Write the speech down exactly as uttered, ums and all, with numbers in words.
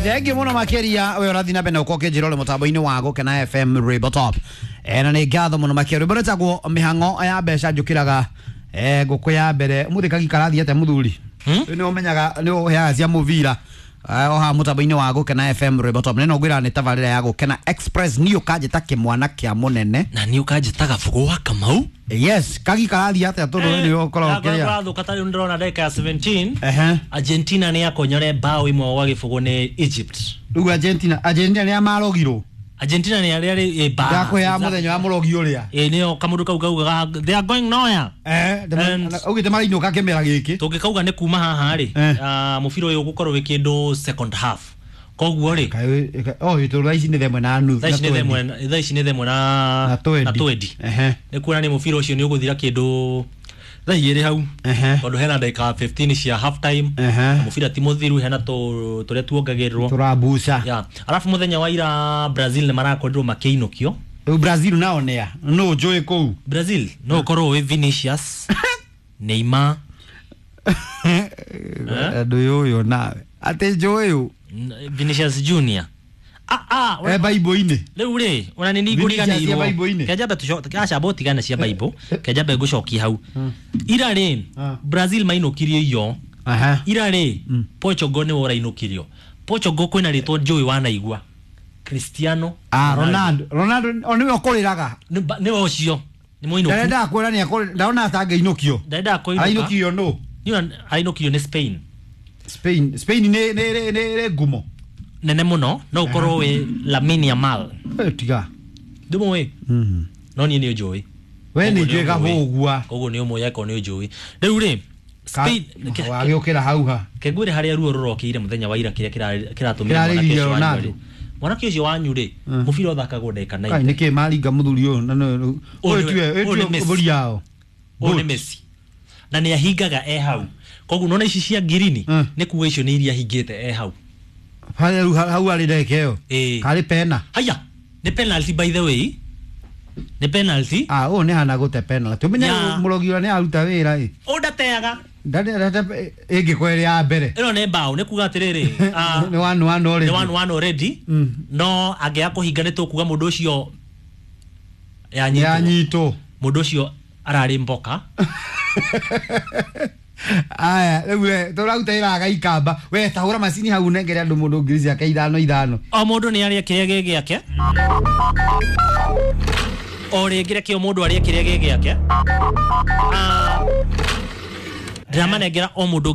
Thengi muno makiria we urathi na mbere na ukorwo ũkĩnjĩra ũrĩ mũtambo-inĩ wa Gũkena F M Rainbow Top. Eh, na nĩ ngatho mũno makĩria. Rwĩmbo rwĩtagwo mĩhang'o ya mbeca njũkĩraga eh ngũkũ ya mbere. Mũthĩ kagi karathiĩ atĩa mũthuri? Hmm? Nĩ ũmenyaga nĩ ũheaga cia mũbira. O haha mũtambo-inĩ wa Gũkena F M Rainbow Top. Nĩ ngwĩra nĩ tabarĩra ya Gũkena Express niĩ ũkanjĩta kĩmwana kĩa mũnene. Na niĩ ũkanjĩtaga Bũgũ wa Kamau. Yes, kagi karathiĩ atĩa tondũ we nĩwe ũkoragwo ũkĩrĩa. Karathũka ta rĩu ndĩrona ndagĩka ya seventeen. Ehe. Argentina nĩ yakonyore bao ĩmwe gwa gĩbũgũ nĩ Egypt. Rĩu Argentina, Argentina nĩ amarogirwo. Argentina nĩ arĩa rĩ ba. Ndakũheaga mũthenya wa mũrogi ũrĩa. Ĩ nĩyo kamũndũ kau kaugaga they are going nowhere. Eh, augĩte marainũka kĩmera gĩkĩ. Tũngĩkauga nĩ kuma haha rĩ, Eh. mũbira ũyũ ũgũkorwo wĩ kĩndũ second half. Koguo rĩ, oh, tondũ thaa ici nĩ themwe na nuthu. Thaa ici nĩ themwe, thaa ici nĩ themwe na Na twendi. na twendi. Ehe. Nĩ kuonania mũbira ũcio nĩ ũgũthira kĩndũ thaa igĩrĩ hau. Ehe. Tondũ hena ndagĩka fifteen cia half time. Ehe. Na mũbira ti mũthiru, hena tũ tũrĩa tuongagĩrĩrwo. Tũrambuca. Yeah. Alafu mũthenya wa ira Brazil nĩ marakorirwo makĩinũkio. Rĩu Brazil nao nĩa? Nũ njũĩ kũu? Brazil no ũkorwo wĩ Vinicius, Neymar. Andũ ũyũ nawe. Atĩ njũĩ ũ? Vinicius Junior. Ah ah, Eh, Bible-inĩ. Rĩu rĩ, ona nĩ Vinicius ningũriganĩirwo. cia Bible-inĩ. Kenjambe tũco, aca botigane cia Bible, kenjambe ngũcokie hau. Ira rĩ, Brazil mainũkirio iyo. Aha. Ira rĩ, Portugal nĩwe ũrainũkirio. Portugal kwĩna rĩtwa njũĩ wanaigua. Cristiano Ah, Ronaldo. Ronaldo o nĩwe ũkũrĩraga. Nĩwe ũcio. Nĩ mũinũku. Ndarenda kwĩra nĩ akũrĩ, ndona atangĩinũkio. Ndarenda kũinũka. Arainũkirio nũ? Nĩ arainũkirio nĩ Spain. Spain, Spain nĩ nĩ nĩ nĩ ngumo nene mũno, no ũkorwo wĩ Lamine Yamal. Eh, tiga. Ndũmũĩ? Mhm. No niĩ nĩ ũnjũĩ. We nĩ njũĩ gahũgua. Koguo nĩ ũmũĩ akorwo nĩ ũnjũĩ. Rĩu rĩ, Spain wagĩũkĩra hau ha. Kengwĩre harĩa ruo rũrokĩire mũthenya wa ira kĩrĩa kĩratũmire mwanake ũcio wanyu rĩ. Mwanake ũcio wanyu rĩ, mũbira ũthakagwo ndagĩka ninety. Kai nĩkĩ maringa mũthuri ũyũ na ũyũ tiwe, ũyũ tiwe mbũri yao. Ũyũ nĩ Messi. Na nĩ ahingaga e hau. Koguo nona ici cia ngirini nĩ kuga icio nĩ iria ahingĩte e hau. Harĩa rĩu hau arĩ ndagĩka ĩyo. Karĩ pena. Haya, nĩ penalty by the way. Nĩ penalty. Ah, ũyũ nĩ hana gũte penalty. Ũmenye mũrogi ũrĩa nĩ aruta wĩra ĩ. Ũyũ ndateaga. Ndate ĩngĩkorwo ĩrĩ ya mbere. Ĩno nĩ bao, nĩ kuga atĩrĩrĩ, nĩ one one already. Nĩ one one already. No angĩaga kũhinga nĩ tũkuga mũndũ ũcio yanyitwo. Yanyitwo. Mũndũ ũcio ararĩ mboka. Aya, rĩu we tũraruta wĩra agaikamba. We tahũra macini hau nengere andũ mũndũ ngiri ciake ithano ithano. O mũndũ nĩ arĩe kĩrĩa gĩ gĩake. O rĩngĩ reke o mũndũ arĩe kĩrĩa gĩ gĩake. Ndĩramanengera o mũndũ